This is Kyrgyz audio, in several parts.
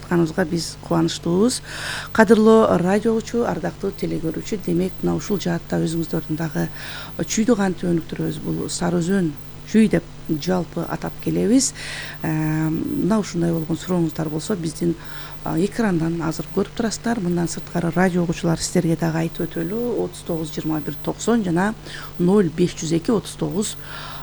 жатканыбызга биз кубанычтуубуз. Кадырлуу радио угуучу, ардактуу телекөрүүчү, демек мына ушул жаатта өзүңүздөрдүн дагы чүйдү кантип өнүктүрөбүз, бул Сары Өзөн чүй деп жалпы атап келебиз. Мына ушундай болгон сурооңуздар болсо биздин экрандан азыр көрүп турасыздар. Мындан сырткары радио угуучулар сиздерге дагы айтып өтөлү. 39 21 90 жана 0502 39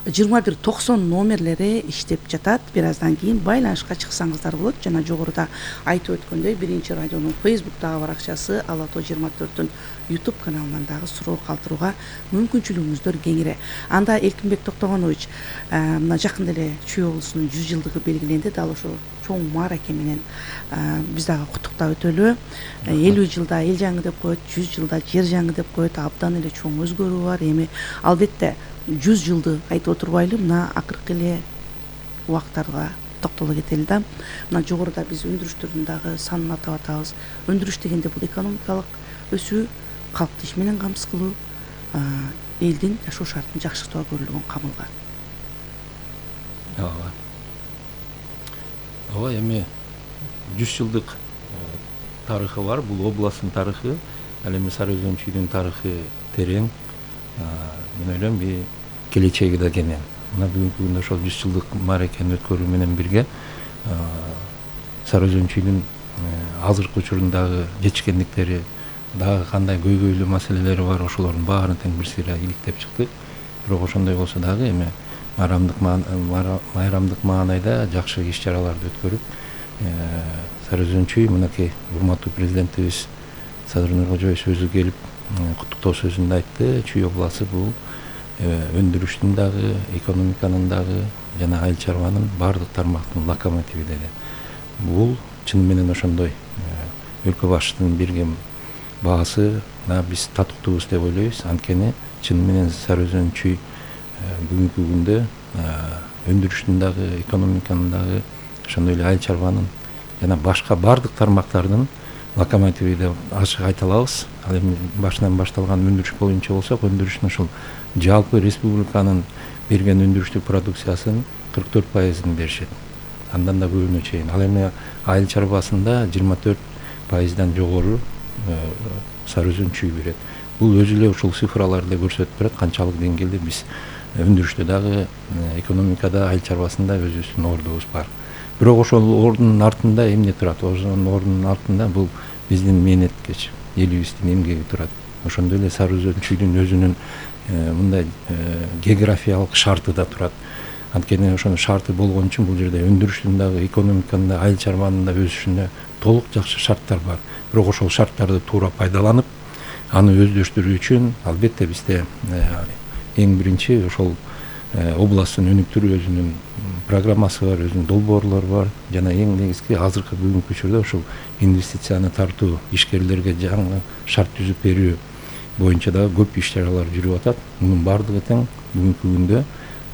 21 90 номерлери иштеп жатат. Бир аздан кийин байланышка чыксаңыздар болот. Жана жогоруда айтып өткөндөй, биринчи радионун Facebook'тагы баракчасы, Ала Тоо 24-түн YouTube каналынан дагы суроо калтырууга мүмкүнчүлүгүңүздөр кеңире. Анда Эркинбек Токтогонович, мына жакында эле Чүй облусунун 100 жылдыгы белгиленди. Дал ошо чоң маараке менен биз дагы куттуктап өтөлү. 50 жылда эл жаңы деп коет, 100 жылда жер жаңы деп коет. Абдан эле чоң өзгөрүү бар. Эми албетте 100 жылды айтып отурбайлы, мына акыркы эле убактарга токтоло кетели да. Мына жогоруда биз өндүрүштөрдүн дагы санын атап атабыз. Өндүрүш дегенде бул экономикалык өсүү, калкты иш менен камсыз кылуу, элдин жашоо шартын жакшыртууга көрүлгөн камылга. Ооба, эми 100 жылдык тарыхы бар. Бул областтын тарыхы, ал эми Сары Өзөн чүйдүн тарыхы терең. Мен ойлойм, келечеги да кенен. Мына бүгүнкү күндө ошол 100 жылдык мааракени өткөрүү менен бирге Сары Өзөн чүйдүн азыркы учурундагы жетишкендиктери, дагы кандай көйгөйлүү маселелери бар, ошолордун баарын тең бир сыйра иликтеп чыктык. Бирок ошондой болсо дагы эми майрамдык маанайда жакшы иш-чараларды өткөрүп, Сары Өзөн чүй, мынакей урматтуу президентибиз Садыр Нуркожоевич өзү келип куттуктоо сөзүндө айтты. Чүй областы бул өндүрүштүн дагы, экономиканын дагы жана айыл чарбанын баардык тармактын локомотиви деди. Бул чын менен ошондой. Өлкө башчысынын берген баасы биз татыктуубуз деп ойлойбуз. Анткени чын менен Сары Өзөн чүй бүгүнкү күндө өндүрүштүн дагы, экономиканын дагы, ошондой эле айыл чарбанын жана башка баардык тармактардын локомотиви деп ачык айта алабыз. Ал эми башынан башталган өндүрүш боюнча болсок, өндүрүштүн ушул жалпы республиканын берген өндүрүштүк продукциясынын 44%-ын беришет. Андан да көбүнө чейин. Ал эми айыл чарбасында 24%-дан жогору Сары Өзөн чүй берет. Бул өзү эле ушул цифраларды көрсөтүп турат, канчалык деңгээлде биз өндүрүштө дагы, экономикада, айыл чарбасында өзүбүздүн ордубуз бар. Бирок ошол ордунун артында эмне турат? Ошонун ордунун артында бул биздин мээнеткеч элибиздин эмгеги турат. Ошондой эле Сары Өзөн чүйдүн өзүнүн мындай географиялык шарты да турат. Анткени ошонун шарты болгон үчүн бул жерде өндүрүштүн дагы, экономиканын да, айыл чарбанын да өсүшүнө толук жакшы шарттар бар. Бирок ошол шарттарды туура пайдаланып, аны өздөштүрүү үчүн албетте бизде эң биринчи ошол областтын өнүктүрүү өзүнүн программасы бар, өзүнүн долбоорлору бар. Жана эң негизги азыркы бүгүнкү учурда ошол инвестицияны тартуу, ишкерлерге жаңы шарт түзүп берүү боюнча дагы көп иш-чаралар жүрүп атат. Мунун баардыгы тең бүгүнкү күндө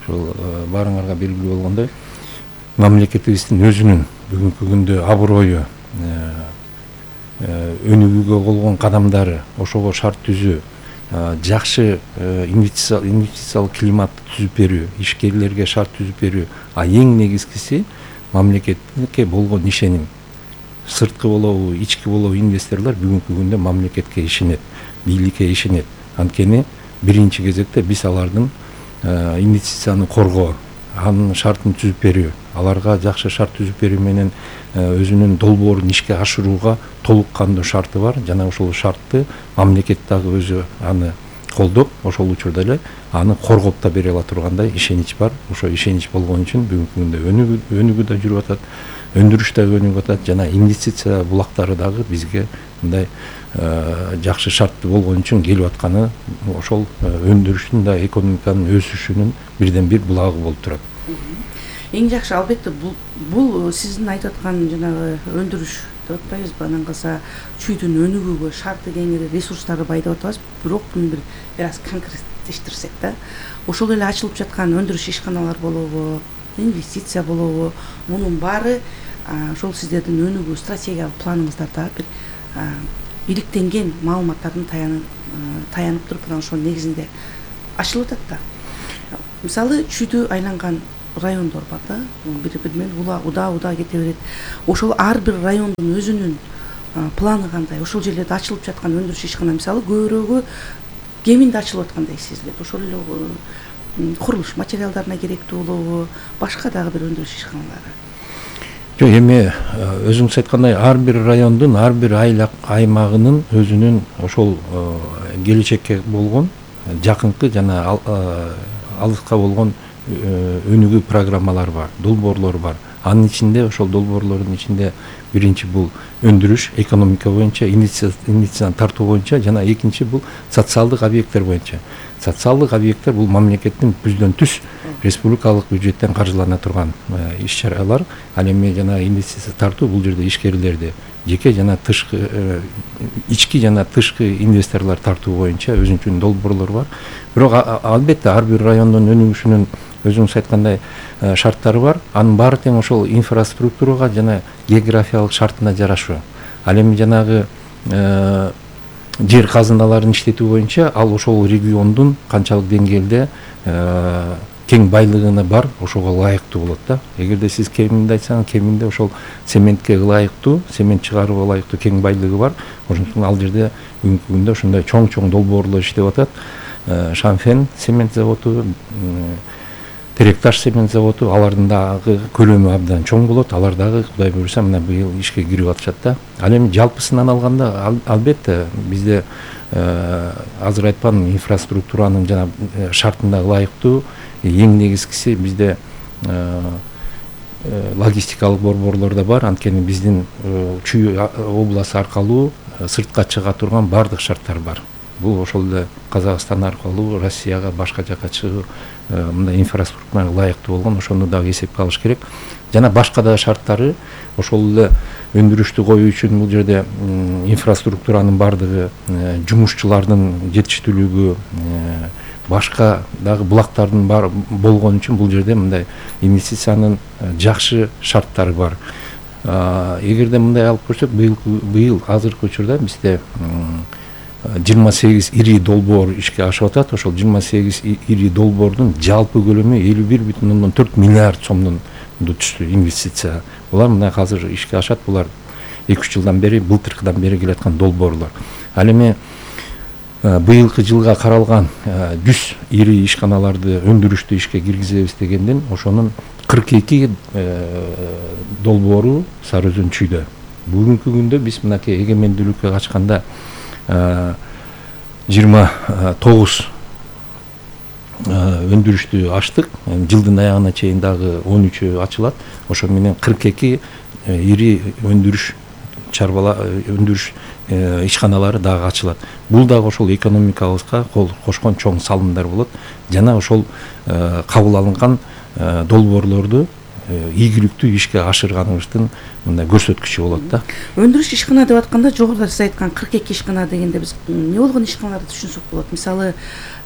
ошол баарыңарга белгилүү болгондой мамлекетибиздин өзүнүн бүгүнкү күндө аброю, өнүгүүгө болгон кадамдары, ошого шарт түзүү, жакшы инвестициялык климатты түзүп берүү, ишкерлерге шарт түзүп берүү, эң негизгиси мамлекетке болгон ишеним. Сырткы болобу, ички болобу инвесторлор бүгүнкү күндө мамлекетке ишенет, бийликке ишенет. Анткени биринчи кезекте биз алардын инвестицияны коргоо, анын шартын түзүп берүү, аларга жакшы шарт түзүп берүү менен өзүнүн долбоорун ишке ашырууга толук кандуу шарты бар. Жана ошол шартты мамлекет дагы өзү аны колдоп, ошол учурда эле аны коргоп да бере ала тургандай ишенич бар. Ошо ишенич болгон үчүн бүгүнкү күндө өнүгүү да жүрүп атат, өндүрүш да өнүгүп атат, жана инвестиция булактары дагы бизге мындай жакшы шарттуу болгон үчүн келип атканы ошол өндүрүштүн да, экономиканын өсүшүнүн бирден бир булагы болуп турат. Эң жакшы албетте бул сиздин айтып аткан жанагы өндүрүш деп атпайбызбы? Анан калса чүйдүн өнүгүүгө шарты кеңири, ресурстары бай деп атабыз. Бирок муну бир аз конкреттештирсек да, ошол эле ачылып жаткан өндүрүш ишканалар болобу, инвестиция болобу, мунун баары ошол сиздердин өнүгүү стратегиялык планыңыздарда бир иликтенген маалыматтардын таянып туруп, анан ошонун негизинде ачылып атат да. Мисалы, чүйдү айланган райондор бар да, бири бири менен удаа кете берет. Ошол ар бир райондун өзүнүн планы кандай? Ошол жерлерде ачылып жаткан өндүрүш ишкана мисалы көбүрөгү кеминде ачылып аткандай сезилет. Ошол эле курулуш материалдарына керектүү болобу, башка дагы бир өндүрүш ишканалары? Жок, эми өзүңүз айткандай ар бир райондун, ар бир аймагынын өзүнүн ошол келечекке болгон жакынкы жана алыска болгон өнүгүү программалары бар, долбоорлор бар. Анын ичинде ошол долбоорлордун ичинде биринчи бул өндүрүш, экономика боюнча, инвестицияны тартуу боюнча жана экинчи бул социалдык объекттер боюнча. Социалдык объекттер бул мамлекеттин түздөн түз республикалык бюджеттен каржылана турган иш-чаралар. Ал эми жана инвестиция тартуу бул жерде ишкерлерди жеке жана тышкы, ички жана тышкы инвесторлор тартуу боюнча өзүнчө долбоорлор бар. Бирок албетте ар бир райондун өнүгүшүнүн өзүңүз айткандай шарттары бар. Анын баары тең ошол инфраструктурага жана географиялык шартына жарашуу. Ал эми жанагы жер казыналарын иштетүү боюнча ал ошол региондун канчалык деңгээлде кең байлыгына бар, ошого ылайыктуу болот да. Эгерде сиз кеминде айтсаңыз, кеминде ошол цементке ылайыктуу, цемент чыгарууга ылайыктуу кең байлыгы бар. Ошондуктан ал жерде бүгүнкү күндө ошондой чоң долбоорлор иштеп атат. Шанфен цемент заводу, Теректаш цемент заводу, алардын дагы көлөмү абдан чоң болот. Алар дагы Кудай буйруса мына быйыл ишке кирип атышат да. Ал эми жалпысынан алганда албетте бизде азыр айткан инфраструктуранын жана шартына ылайыктуу эң негизгиси бизде логистикалык борборлор да бар. Анткени биздин Чүй областы аркылуу сыртка чыга турган бардык шарттар бар. Бул ошол эле Казакстан аркылуу Россияга, башка жака чыгуу мындай инфраструктурага ылайыктуу болгон, ошону дагы эсепке алыш керек. Жана башка да шарттары ошол эле өндүрүштү коюу үчүн бул жерде инфраструктуранын бардыгы, жумушчулардын жетиштүүлүгү, башка дагы булактардын бар болгон үчүн бул жерде мындай инвестициянын жакшы шарттары бар. Эгерде мындай алып көрсөк, быйыл азыркы учурда бизде 28 ири долбоор ишке ашып атат. Ошол 28 ири долбоордун жалпы көлөмү 51,4 миллиард сомдон түштү инвестиция. Булар мына азыр ишке ашат. Булар 2-3 жылдан бери, былтыркыдан бери келаткан долбоорлор. Ал эми быйылкы жылга каралган 100 ири ишканаларды өндүрүштү ишке киргизебиз дегенден ошонун 42 долбоору Сары Өзөн Чүйдө. Бүгүнкү күндө биз мынакей эгемендүүлүккө качканда 29 өндүрүштү ачтык. Жылдын аягына чейин дагы 13 ачылат. Ошо менен 42 ири өндүрүш ишканалары дагы ачылат. Бул дагы ошол экономикабызга кошкон чоң салымдар болот. Жана ошол кабыл алынган долбоорлорду ийгиликтүү ишке ашырганыбыздын мындай көрсөткүчү болот да. Өндүрүш ишкана деп атканда жогоруда сиз айткан 42 ишкана дегенде биз эмне болгон ишканаларды түшүнсөк болот? Мисалы,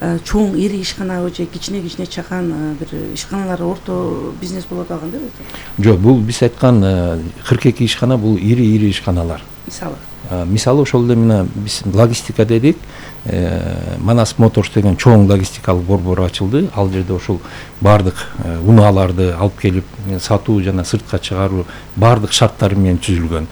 чоң ири ишканабы же кичине чакан бир ишканалар, орто бизнес болот кандай болот? Жок, бул биз айткан 42 ишкана бул ири ишканалар. Мисалы ошол эле мына биз логистика дедик. Манас Моторс деген чоң логистикалык борбор ачылды. Ал жерде ошол бардык унааларды алып келип сатуу жана сыртка чыгаруу бардык шарттары менен түзүлгөн.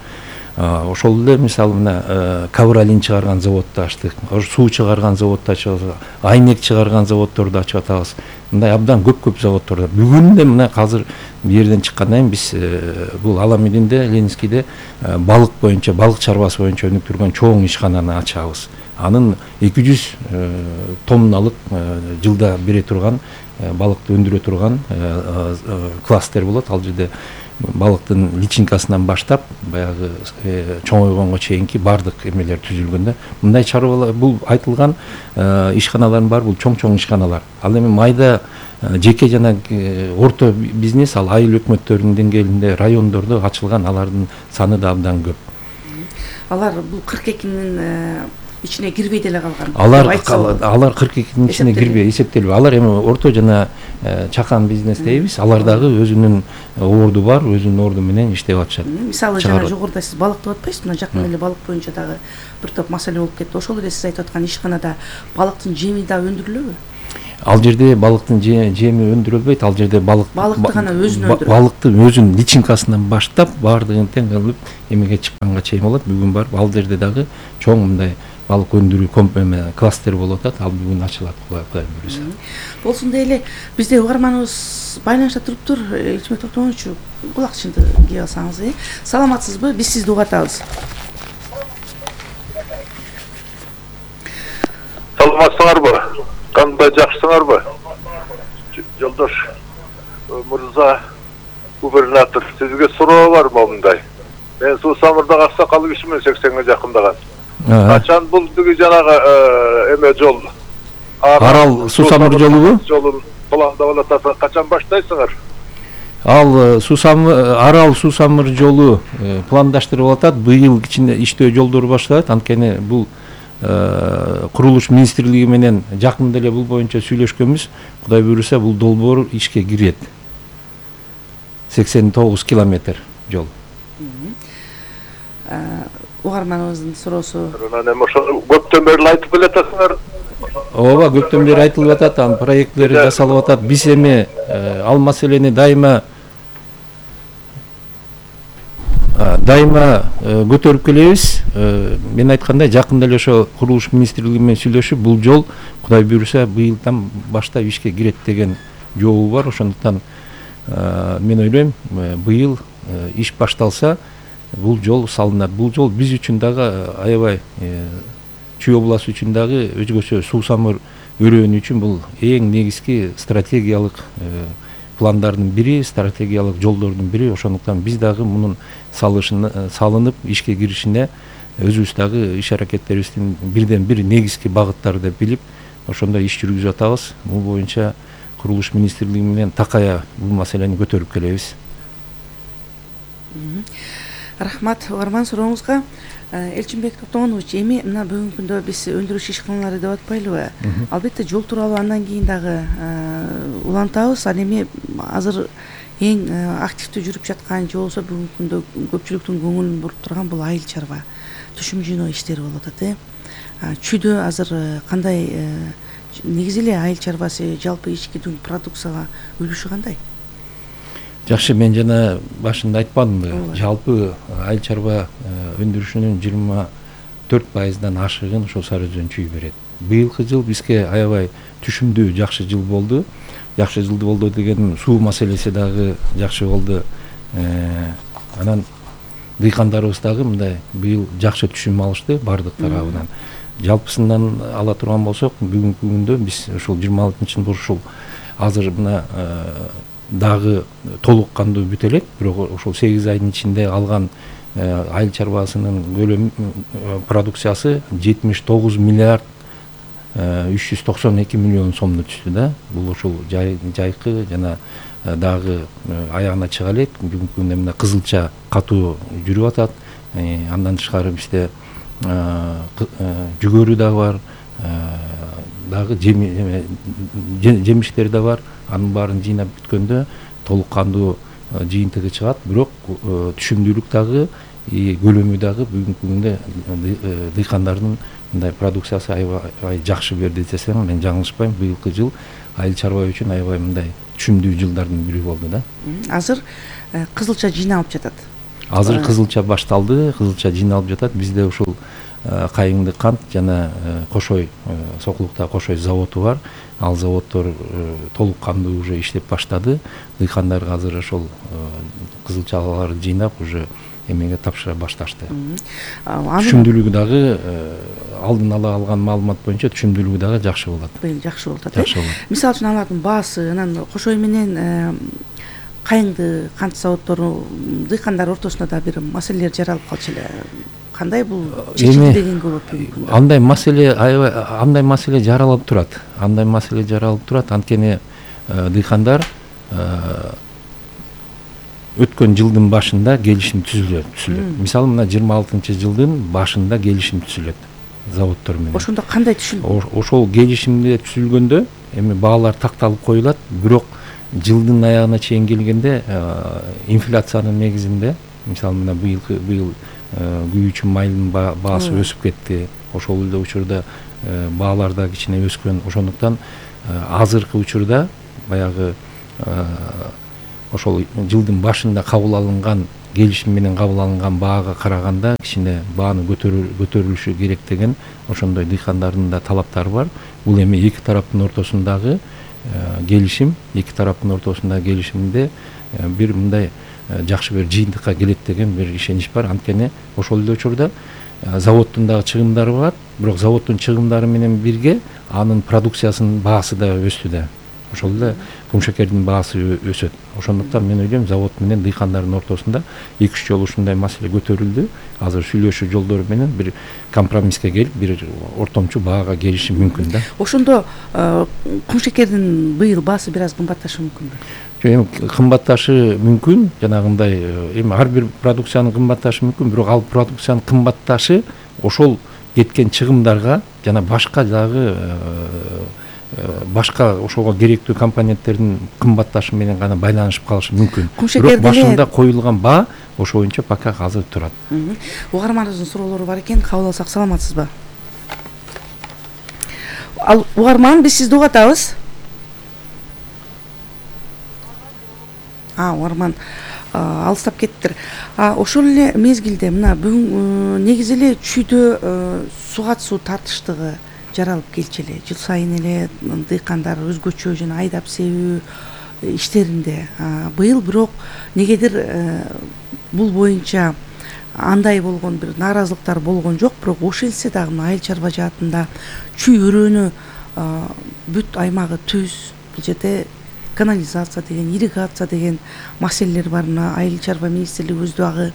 Ошол эле мисалы мына ковролин чыгарган заводду ачтык, суу чыгарган заводду ачабыз, айнек чыгарган заводдорду ачып атабыз. Мындай абдан көп заводдор. Бүгүн да мына азыр бу жерден чыккандан кийин биз бул Аламединде, Ленинскийде балык боюнча, балык чарбасы боюнча өнүктүргөн чоң ишкананы ачабыз. Анын 200 тонналык жылда бере турган балыкты өндүрө турган кластер болот. Ал жерде балыктын личинкасынан баштап баягы чоңойгонго чейинки бардык эмелер түзүлгөн да. Мындай чарбалар, бул айтылган ишканалардын баары бул чоң ишканалар. Ал эми майда жеке жана орто бизнес, ал айыл өкмөттөрүнүн деңгээлинде райондордо ачылган, алардын саны да абдан көп. Алар бул 42-нин ичине кирбей деле калган. Алар 42-нин ичине кирбей эсептелбей. Алар эми орто жана чакан бизнес дейбиз. Алар дагы өзүнүн орду бар, өзүнүн орду менен иштеп атышат. Мисалы жана жогоруда сиз балык деп атпайсызбы? Мына жакын эле балык боюнча дагы бир топ маселе болуп кетти. Ошол эле сиз айтып аткан ишканада балыктын жеми да өндүрүлөбү? Ал жерде балыктын жеми өндүрүлбөйт, ал жерде балыкты гана өзүн өндүрөт. Балыктын өзүнүн личинкасынан баштап баардыгын тең кылып эмеге чыкканга чейин болот. Бүгүн барып ал жерде дагы чоң мындай балык өндүрүү кластер болуп атат. Ал бүгүн ачылат Кудай буюрса. Болсун дейли, бизде угарманыбыз байланышта туруптур. Элчимбек Токтогоновичу, кулакчыңды кийип алсаңыз. Саламатсызбы? Биз сизди угуп атабыз. Саламатсыңарбы? Кандай жакшысыңарбы? Жолдош мырза губернатор, сизге суроо бар момундай. Мен Суу Самырдагы аксакал кишимин 80-ге жакындаган. Качан бул биги жанагы эме жол Арал Суу Самыр жолубу? Жолун пландап атасың, качан баштайсыңар? Ал Арал Суу Самыр жолу пландаштырылып атат. Быйыл кичине иштөө жолдору башталат. Анткени бул курулуш министрлиги менен жакында эле бул боюнча сүйлөшкөнбүз. Кудай буюрса бул долбоор ишке кирет. 89 километр жол. Угарманыбыздын суроосу. Анан ошо көптөн бери айтып келатасыңар. Ооба, көптөн бери айтылып атат, анын проекттери жасалып атат. Биз эми ал маселени дайыма көтөрүп келебиз. Мен айткандай, жакында эле ошо курулуш министрлиги менен сүйлөшүп, бул жол Кудай буюрса быйылдан баштап ишке кирет деген жообу бар. Ошондуктан мен ойлойм, быйыл иш башталса, бул жол салынат. Бул жол биз үчүн дагы аябай Чүй областы үчүн дагы өзгөчө Суу Самыр өрөөнү үчүн бул эң негизги стратегиялык пландардын бири, стратегиялык жолдордун бири. Ошондуктан биз дагы мунун салынып ишке киришине өзүбүз дагы иш аракеттерибиздин бирден бир негизги багыттары деп билип, ошондой иш жүргүзүп атабыз. Бул боюнча курулуш министрлиги менен такая бул маселени көтөрүп келебиз. Рахмат угарман сурооңузга. Элчимбек Токтогонович, эми мына бүгүнкү күндө биз өндүрүш ишканалары деп атпайлыбы? Албетте жол тууралуу андан кийин дагы улантабыз. Ал эми азыр эң активдүү жүрүп жаткан же болбосо бүгүнкү күндө көпчүлүктүн көңүлүн буруп турган бул айыл чарба түшүм жыйноо иштери болуп атат. Чүйдө азыр кандай, негизи эле айыл чарбасы жалпы ички продукцияга үлүшү кандай? Жакшы, мен жана башында айтпадымбы, жалпы айыл чарба өндүрүшүнүн 24%-дан ашыгын ошол Сары Өзөн чүй берет. Быйылкы жыл бизге аябай түшүмдүү жакшы жыл болду. Жакшы жыл болду дегеним, суу маселеси дагы жакшы болду. Анан дыйкандарыбыз дагы мындай быйыл жакшы түшүм алышты бардык тарабынан. Жалпысынан ала турган болсок, бүгүнкү күндө биз ушул 26-жылы ушул азыр мына дагы толук кандуу бүтө элек, бирок ошол 8 айдын ичинде алган айыл чарбасынын көлөмү продукциясы 79 миллиард 392 миллион сомду түштү да. Бул ошол жайкы жана дагы аягына чыга элек. Бүгүнкү күндө мына кызылча катуу жүрүп атат. Андан тышкары бизде жүгөрү да бар, дагы жемиштер да бар. Анын баарын жыйнап бүткөндө толук кандуу жыйынтыгы чыгат. Бирок түшүмдүүлүк дагы, көлөмү дагы бүгүнкү күндө дыйкандардын мындай продукциясы аябай жакшы берди десем мен жаңылышпайм. Быйылкы жыл айыл чарба үчүн аябай мындай түшүмдүү жылдардын бири болду да. Азыр кызылча жыйналып жатат. Азыр кызылча башталды, кызылча жыйналып жатат. Бизде ушул Кайыңды кант жана Кошой, Сокулукта Кошой заводу бар. Ал заводдор толук кандуу уже иштеп баштады. Дыйкандар азыр ошол кызылчаларды жыйнап уже эмеге тапшыра башташты. Түшүмдүүлүгү дагы алдын ала алган маалымат боюнча түшүмдүүлүгү дагы жакшы болот. Жакшы болуп атат. Мисалы үчүн алардын баасы, анан Кошой менен Кайыңды кант заводдору дыйкандар ортосунда да бир маселелер жаралып калчу эле. Кандай бул чечилди дегенге болот бүгүнкү? Андай маселе жаралып турат. Анткени дыйкандар өткөн жылдын башында келишим түзүлөт. Мисалы мына 26-жылдын башында келишим түзүлөт заводдор менен. Ошондо кандай түшүлдү? Ошол келишимде түзүлгөндө эми баалар такталып коюлат, бирок жылдын аягына чейин келгенде инфляциянын негизинде, мисалы мына быйыл күйүүчү майдын баасы өсүп кетти. Ошол эле учурда баалар да кичине өскөн. Ошондуктан азыркы учурда баягы ошол жылдын башында кабыл алынган келишим менен кабыл алынган баага караганда кичине бааны көтөрүлүшү керек деген ошондой дыйкандардын да талаптары бар. Бул эми эки тараптын ортосундагы келишим, эки тараптын ортосундагы келишимде бир мындай жакшы бир жыйынтыкка келет деген бир ишенич бар. Анткени ошол эле учурда заводдун дагы чыгымдары бар, бирок заводдун чыгымдары менен бирге анын продукциясынын баасы да өстү да. Ошол эле кумшекердин баасы өсөт. Ошондуктан мен ойлойм, завод менен дыйкандардын ортосунда 2-3 жолу ушундай маселе көтөрүлдү. Азыр сүйлөшүү жолдору менен бир компромисске келип, бир ортомчу баага келишим мүмкүн да. Ошондо кумшекердин быйыл баасы бир аз кымбатташы мүмкүнбү? Эми кымбатташы мүмкүн, жанагындай эми ар бир продукциянын кымбатташы мүмкүн, бирок ал продукциянын кымбатташы ошол кеткен чыгымдарга жана башка дагы башка ошого керектүү компоненттердин кымбатташы менен гана байланышып калышы мүмкүн. Бирок башында коюлган баа ошо боюнча пока азыр турат. Угарманыбыздын суроолору бар экен, кабыл алсак. Саламатсызбы? Ал угарман, биз сизди угатабыз. Угарман алыстап кеттиптир. Ошол эле мезгилде мына бүгүн негизи эле чүйдө сугат суу тартыштыгы жаралып келчү эле. Жыл сайын эле дыйкандар өзгөчө жана айдап себүү иштеринде. Быйыл бирок негедир бул боюнча андай болгон бир нааразылыктар болгон жок, бирок ошентсе дагы айыл чарба жаатында чүй өрөөнү бүт аймагы түз. Бул жерде канализация деген, ирригация деген маселелер бар. Айыл чарба министрлиги өз дагы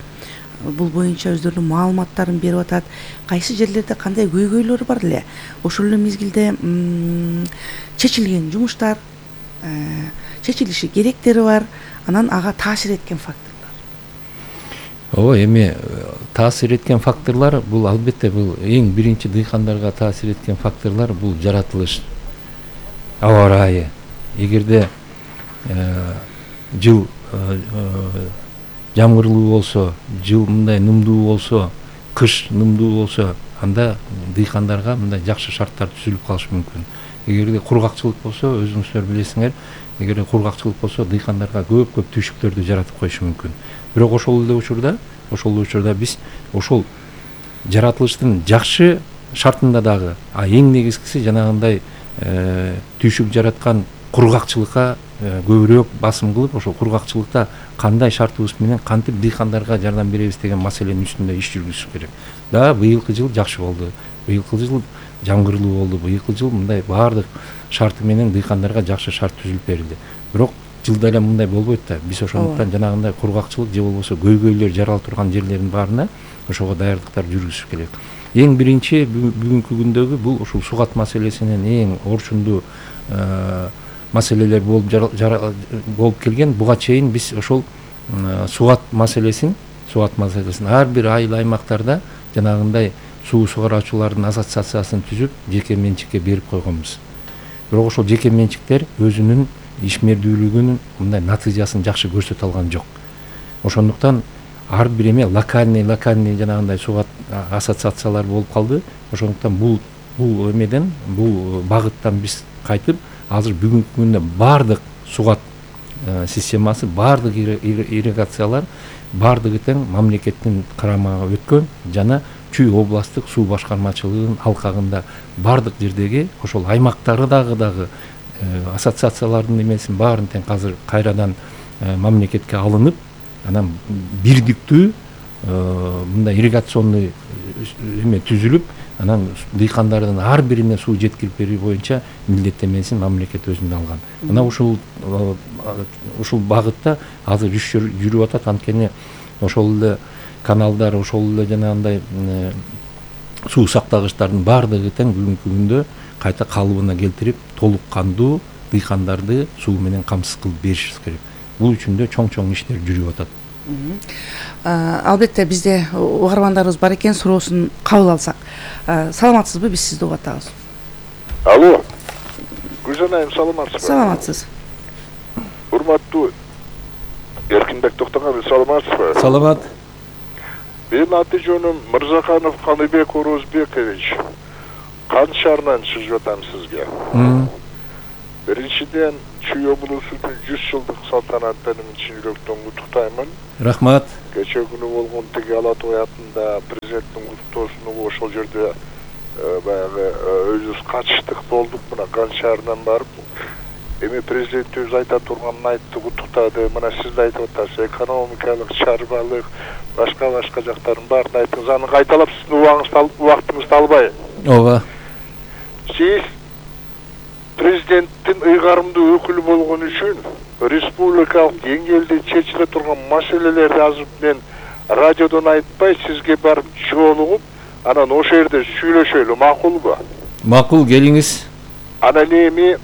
бул боюнча өздөрүнүн маалыматтарын берип атат. Кайсы жерлерде кандай көйгөйлөр бар эле, ошол эле мезгилде чечилген жумуштар, чечилиши керектери бар, анан ага таасир эткен факторлор. Ооба, эми таасир эткен факторлор бул албетте бул эң биринчи дыйкандарга таасир эткен факторлор бул жаратылыш, аба ырайы. Эгерде жыл жамгырлуу болсо, жыл мындай нымдуу болсо, кыш нымдуу болсо, анда дыйкандарга мындай жакшы шарттар түзүлүп калышы мүмкүн. Эгерде кургакчылык болсо, өзүңүздөр билесиңер, эгерде кургакчылык болсо, дыйкандарга көп түйшүктөрдү жаратып коюшу мүмкүн. Бирок ошол эле учурда биз ошол жаратылыштын жакшы шартында дагы, эң негизгиси жанагындай түйшүк жараткан кургакчылыкка көбүрөөк басым кылып, ошол кургакчылыкта кандай шартыбыз менен кантип дыйкандарга жардам беребиз деген маселенин үстүндө иш жүргүзүш керек. Быйылкы жыл жакшы болду. Быйылкы жыл жамгырлуу болду. Быйылкы жыл мындай баардык шарты менен дыйкандарга жакшы шарт түзүлүп берилди. Бирок жылда эле мындай болбойт да. Биз ошондуктан жанагындай кургакчылык же болбосо көйгөйлөр жарала турган жерлердин баарына ошого даярдыктар жүргүзүш керек. Эң биринчи бүгүнкү күндөгү бул ушул сугат маселесинин эң орчундуу маселелер болуп келген. Буга чейин биз ошол сугат маселесин ар бир айыл аймактарда жанагындай суу сугаруучулардын ассоциациясын түзүп, жеке менчикке берип койгонбуз. Бирок ошол жеке менчиктер өзүнүн ишмердүүлүгүнүн мындай натыйжасын жакшы көрсөтө алган жок. Ошондуктан ар бир эме локальный жанагындай сугат ассоциациялар болуп калды. Ошондуктан бул эмеден, бул багыттан биз кайтып, азыр бүгүнкү күндө баардык сугат системасы, баардык ирригациялар баардыгы тең мамлекеттин карамагына өткөн жана Чүй областтык суу башкармачылыгынын алкагында баардык жердеги ошол аймактары дагы ассоциациялардын эмесин баарын тең азыр кайрадан мамлекетке алынып, анан бирдиктүү мындай ирригационный эме түзүлүп, анан дыйкандардын ар бирине суу жеткирип берүү боюнча милдеттемесин мамлекет өзүнө алган. Мына ушул багытта азыр иш жүрүп атат. Анткени ошол эле каналдар, ошол эле жанагындай суу сактагычтардын баардыгы тең бүгүнкү күндө кайта калыбына келтирип, толук кандуу дыйкандарды суу менен камсыз кылып беришибиз керек. Бул үчүн да чоң иштер жүрүп атат. Албетте бизде угармандарыбыз бар экен, суроосун кабыл алсак. Саламатсызбы? Биз сизди угатабыз. Алло. Гүлжан айым, саламатсызбы? Саламатсыз. Урматтуу Эркинбек Токтогонов, саламатсызбы? Саламат. Менин аты жөнүм Мырзаканов Каныбек Орозбекович. Кан шаарынан чыгып атам сизге. Биринчиден Чүй облусунун 100 жылдык салтанаты менен чын жүрөктөн куттуктаймын. Рахмат. Кече күнү болгон тиги Ала Тоо атында президенттин куттуктоосуна ошол жерде баягы өзүбүз катыштык болдук. Мына Кан шаарынан барып, эми президентибиз айта турганын айтты, куттуктады. Мына сиз да айтып атасыз, экономикалык, чарбалык, башка жактарын баарын айттыңыз. Аны кайталап сиздин убактыңызды албайм. Ооба. Сиз президенттин ыйгарымдуу өкүлү болгон үчүн республикалык деңгээлде чечиле турган маселелерди азыр мен радиодон айтпай сизге барып жолугуп, анан ошол жерде сүйлөшөлү, макулбу? Макул, келиңиз. Анан эми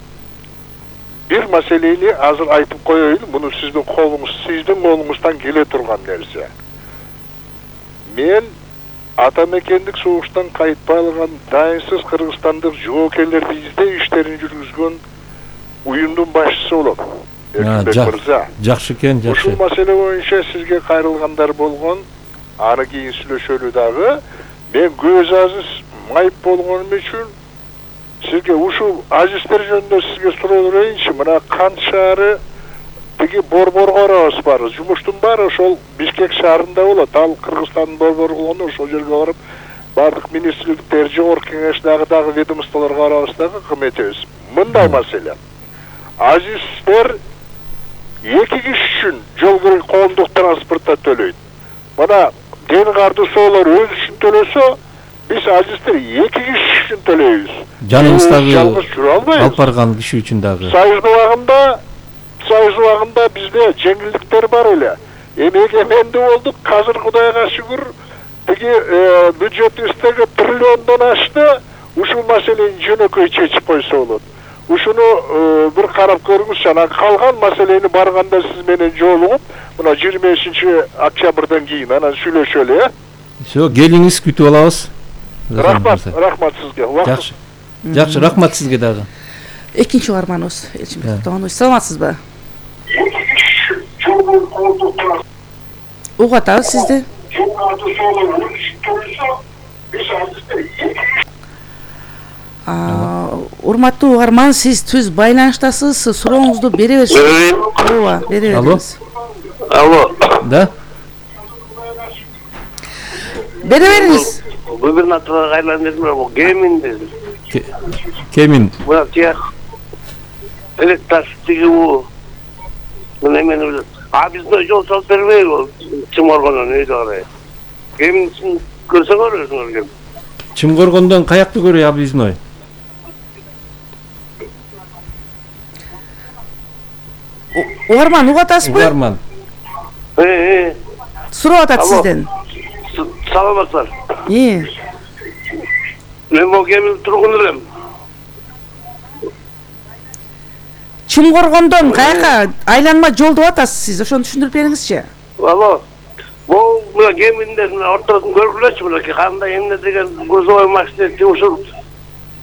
бир маселени азыр айтып коеюн, муну сиздин колуңуздан келе турган нерсе. Мен атамекендик согуштан кайтпай алган дайынсыз кыргызстандык жоокерлерди издөө иштерин жүргүзгөн уюмдун башчысы болом. Эркинбек мырза. Жакшы экен, жакшы. Ушул маселе боюнча сизге кайрылгандар болгон, аны кийин сүйлөшөлү дагы. Мен көз азиз майып болгонум үчүн сизге ушул азиздер жөнүндө сизге суроо берейинчи. Мына Кан шаары тиги борборго барабыз бары. Жумуштун баары ошол Бишкек шаарында болот. Ал Кыргызстандын борбору болгондо ошол жерге барып, бардык министрликтер, жогорку кеңеш дагы ведомстволорго барабыз дагы кыметебиз. Мындай маселе. Азиздер 2 киши үчүн жол коомдук транспортто төлөйт. Мына ден кардысоолор өз үчүн төлөсө, биз азиздер 2 киши үчүн төлөйбүз. Жаныңыздагы жалгыз жүрө албайбыз. алып барган киши үчүн дагы. Союз убагында бизде жеңилдиктер бар эле. Эми эгеменди болдук, азыр Кудайга шүгүр, тиги бюджетибиздеги триллиондон ашты. Ушул маселени жөнөкөй чечип койсо болот. Ушуну бир карап көрүңүзчү. Анан калган маселени барганда сиз менен жолугуп, мына 25-октябрдан кийин анан сүйлөшөлү, Всё, келиңиз, күтүп алабыз. Рахмат сизге. Жакшы. Жакшы, рахмат сизге дагы. Экинчи угарманыбыз Элчинбек Токтогонович, саламатсызбы? Угуп атабыз сизди. Урматтуу угарман, сиз байланыштасыз, сурооңузду бере бериңиз. Ооба, бере бериңиз. Алло. Да? Бере бериңиз. Губернаторга айландырма, Кемин деди. Кемин. Мына тияк электр тиги бу. Мына эмени бизде жол салып бербейби? Чыморгондон өйдө карай. Кемин көрсөңөр өзүңөр. Чымгоргондон каякты көрөй объездной? Угарман, угуп атасызбы? Угарман. Суроо атат сизден. Саламатсыздар. Мен бул Кемин тургун элем. Чымгоргондон каяка айланма жол деп атасыз сиз, ошону түшүндүрүп бериңизчи. Алло. Бул мына Кеминден ортосун көргүлөчү, мына кандай эмне деген грузовой машина ушул.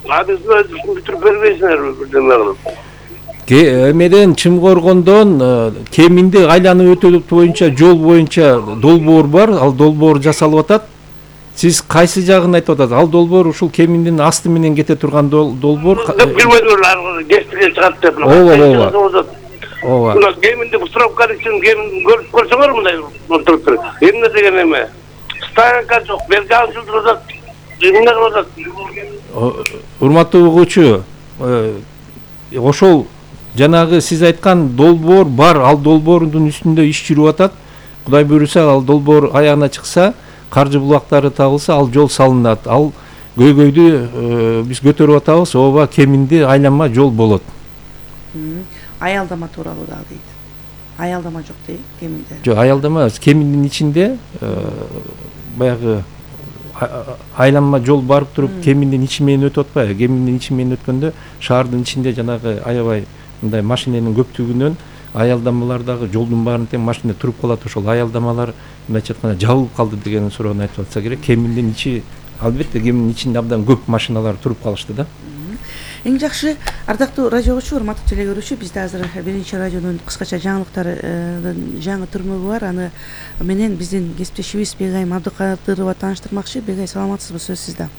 Абизде бүтүрүп бербейсиңерби бирдеме кылып? Эмеден Чымгоргондон Кеминди айланып өтөлүп боюнча жол боюнча долбоор бар, ал долбоор жасалып атат. Сиз кайсы жагын айтып атасыз? Ал долбоор ушул Кеминдин асты менен кете турган долбоор. Билбейм, гештиге чыгат деп. Ооба. Мына Кеминди бустуровканы үчүн Кемин көрүп көрсөңөр мындай туруп туруп. Эмне деген эме? Стоянка жок, берган жылдырат. Эмне кылып атат? Урматтуу угуучу, ошол жанагы сиз айткан долбоор бар, ал долбоордун үстүндө иш жүрүп атат. Кудай буйруса, ал долбоор аягына чыкса, каржы булактары табылса, ал жол салынат. Ал көйгөйдү биз көтөрүп атабыз. Ооба, Кеминди айланма жол болот. Аялдама тууралуу дагы дейт. Аялдама жок дейт Кеминде. Жок, аялдама Кеминдин ичинде баягы айланма жол барып туруп Кеминдин ичи менен өтүп атпайбы? Кеминдин ичи менен өткөндө шаардын ичинде жанагы аябай мындай машиненин көптүгүнөн аялдамалар дагы жолдун баарында тең машина туруп калат. Ошол аялдамалар мындайча айтканда жабылып калды деген суроону айтып атса керек. Кеминдин ичи, албетте Кеминдин ичинде абдан көп машиналар туруп калышты да. Эң жакшы, ардактуу радио угуучу, урматтуу теле көрүүчү, бизде азыр биринчи радионун кыскача жаңылыктарын жаңы түрмөгү бар. Аны менен биздин кесиптешибиз Бегайым Абдыкадырова тааныштырмакчы. Бегай, саламатсызбы? Сөз сизде.